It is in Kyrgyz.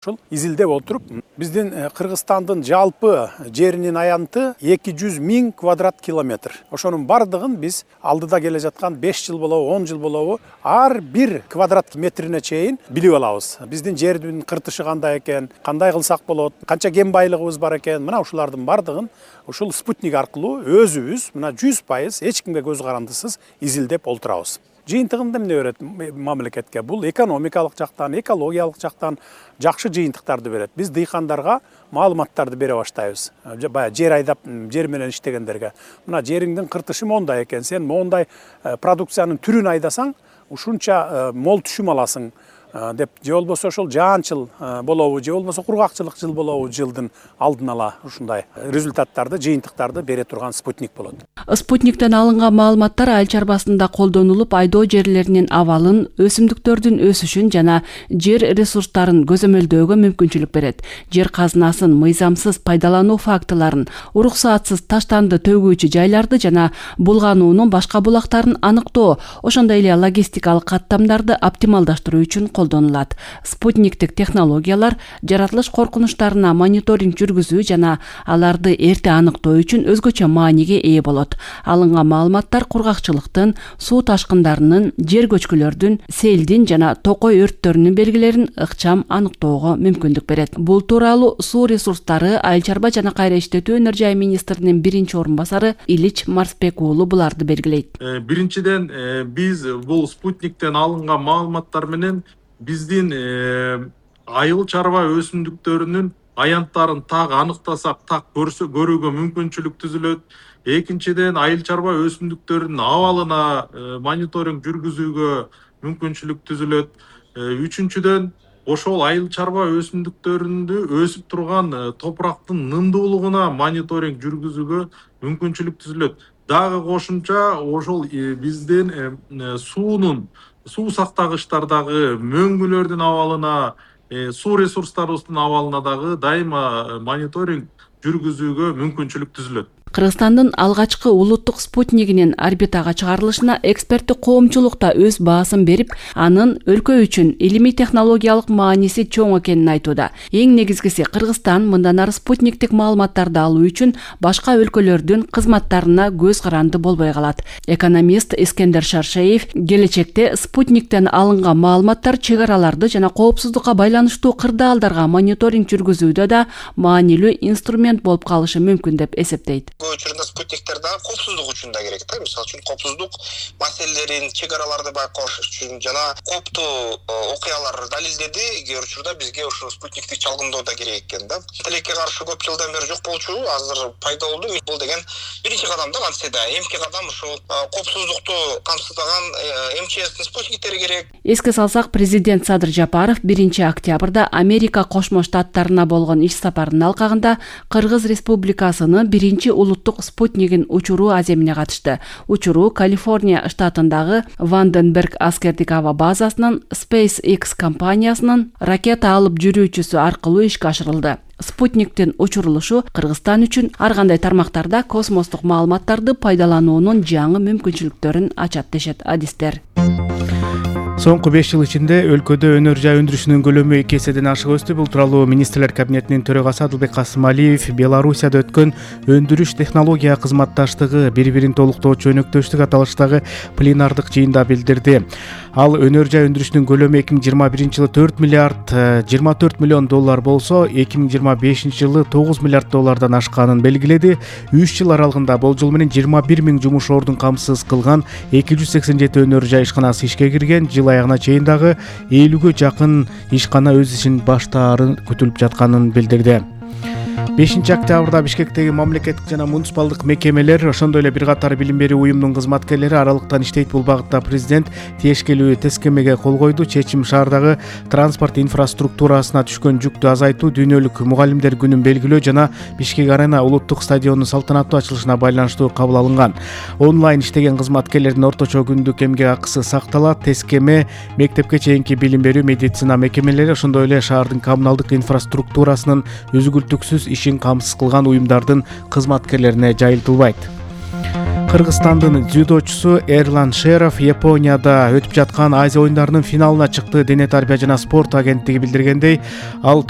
Ушул изилдеп отуруп, биздин Кыргызстандын жалпы жеринин аянты 200 000 квадрат километр. Ошонун бардыгын биз алдыда келе жаткан 5 жыл болобу, 10 жыл болобу, ар бир квадрат метрине чейин билип алабыз. Биздин жердин кыртышы кандай экен, кандай кылсак болот, канча кен байлыгыбыз бар экен, мына ушулардын бардыгын ушул спутник аркылуу өзүбүз мына 100% эч кимге көз карандысыз изилдеп олтурабыз. Жыйынтыгында эмне берет мамлекетке? Бул экономикалык жактан, экологиялык жактан жакшы жыйынтыктарды берет. Биз дыйкандарга маалыматтарды бере баштайбыз. Баягы жер айдап, жер менен иштегендерге. Мына жериңдин кыртышы мондай экен, сен мондай продукциянын түрүн айдасаң, ушунча мол түшүм аласың деп, же болбосо ошол жаанчыл болобу, же болбосо кургакчылык жыл болобу, жылдын алдын ала ушундай результаттарды, жыйынтыктарды бере турган спутник болот. Спутниктен алынган маалыматтар айыл чарбасында колдонулуп, айдоо жерлеринин абалын, өсүмдүктөрдүн өсүшүн жана жер ресурстарын көзөмөлдөөгө мүмкүнчүлүк берет. Жер казынасын мыйзамсыз пайдалануу фактыларын, уруксаатсыз таштанды төгүүчү жайларды жана булгануунун башка булактарын аныктоо, ошондой эле логистикалык каттамдарды оптималдаштыруу үчүн колдонулат. Спутниктик технологиялар жаратылыш коркунучтарына мониторинг жүргүзүү жана аларды эрте аныктоо үчүн өзгөчө мааниге ээ болот. Алынган маалыматтар кургакчылыктын, суу ташкындарынын, жер көчкүлөрдүн, селдин жана токой өрттөрүнүн белгилерин ыкчам аныктоого мүмкүндүк берет. Бул тууралуу Суу ресурстары, айыл чарба жана кайра иштетүү өнөр жай министринин биринчи орун басары Илич Марсбек уулу буларды белгилейт. Биринчиден биз бул спутниктен алынган маалыматтар менен биздин айыл чарба өсүмдүктөрүнүн аянттарын так аныктасак, так көрүүгө мүмкүнчүлүк түзүлөт. Экинчиден айыл чарба өсүмдүктөрүнүн абалына мониторинг жүргүзүүгө мүмкүнчүлүк түзүлөт. Үчүнчүдөн ошол айыл чарба өсүмдүктөрүндө өсүп турган топурактын нымдуулугуна мониторинг жүргүзүүгө мүмкүнчүлүк түзүлөт. Дагы кошумча ошол биздин суу сактагычтардагы мөңгүлөрдүн абалына, суу ресурстарыбыздын абалына дагы дайыма мониторинг жүргүзүүгө мүмкүнчүлүк түзүлөт. Кыргызстандын алгачкы улуттук спутнигинин орбитага чыгарылышына эксперттик коомчулук да өз баасын берип, анын өлкө үчүн илимий технологиялык мааниси чоң экенин айтууда. Эң негизгиси, Кыргызстан мындан ары спутниктик маалыматтарды алуу үчүн башка өлкөлөрдүн кызматтарына көз каранды болбой калат. Экономист Искендер Шаршеев келечекте спутниктен алынган маалыматтар чек араларды жана коопсуздукка байланыштуу кырдаалдарга мониторинг жүргүзүүдө да маанилүү инструмент болуп калышы мүмкүн деп эсептейт. Учурунда спутниктер да коопсуздук үчүн да керек да. Мисалы үчүн коопсуздук маселелерин, чек араларды байкош үчүн жана кооптуу окуялар далилдеди. Кээ учурда бизге ошо спутниктик чалгындоо да керек экен да. Тилекке каршы көп жылдан бери жок болчу, азыр пайда болду. Бул деген биринчи кадам да, кантсе да. Эмки кадам ушул коопсуздукту камсыздаган МЧСтин спутниктери керек. Эске салсак, президент Садыр Жапаров 1 октябрда Америка Кошмо Штаттарына болгон иш сапарынын алкагында Кыргыз Республикасынын биринчи улуттук спутнигин учуруу аземине катышты. Учуруу Калифорния штатындагы Ванденберг аскердик аба базасынын SpaceX компаниясынын ракета алып жүрүүчүсү аркылуу ишке ашырылды. Спутниктин учурулушу Кыргызстан үчүн ар кандай тармактарда космостук маалыматтарды пайдалануунун жаңы мүмкүнчүлүктөрүн ачат дешет адистер. Соңку 5 жыл ичинде өлкөдө өнөр жай өндүрүшүнүн көлөмү 2 эседен ашык өстү. Бул тууралуу Министрлер кабинетинин төрагасы Адылбек Касымалиев Белоруссияда өткөн өндүрүш технология кызматташтыгы бири-бирин толуктоочу өнөктөштүк аталыштагы пленардык жыйында билдирди. Ал өнөр жай өндүрүшүнүн көлөмү 2021 жылы 4 миллиард 24 миллион доллар болсо, 2025 жылы 9 миллиард доллардан ашканын белгиледи. 3 жыл аралыгында болжол менен 21 000 жумуш ордун камсыз кылган 287 өнөр жай ишканасы ишке кирген. Жыл аягына чейин дагы 50-гө жакын ишкана өз ишин баштаары күтүлүп жатканын билдирди. 5 октябрда Бишкектеги мамлекеттик жана муниципалдык мекемелер, ошондой эле бир катар билим берүү уюмунун кызматкерлери аралыктан иштейт. Бул багытта президент тиешкелүү тескемеге кол койду. Чечим шаардагы транспорт инфраструктурасына түшкөн жүктү азайтуу, дүйнөлүк мугалимдер күнүн белгилөө жана Бишкек Арена улуттук стадионунун салтанаттуу ачылышына байланыштуу кабыл алынган. Онлайн иштеген кызматкерлердин орточо күндүк эмгек акысы сакталат. Тескеме мектепке чейинки билим берүү, медицина мекемелери, ошондой эле шаардын коммуналдык инфраструктурасынын үзгүлтүксүз ишин камсыз кылган уюмдардын кызматкерлерине жайылтылбайт. Кыргызстандын дзюдочусу Эрлан Шеров Японияда өтүп жаткан Азия оюндарынын финалына чыкты. Дене тарбия жана спорт агенттиги билдиргендей, ал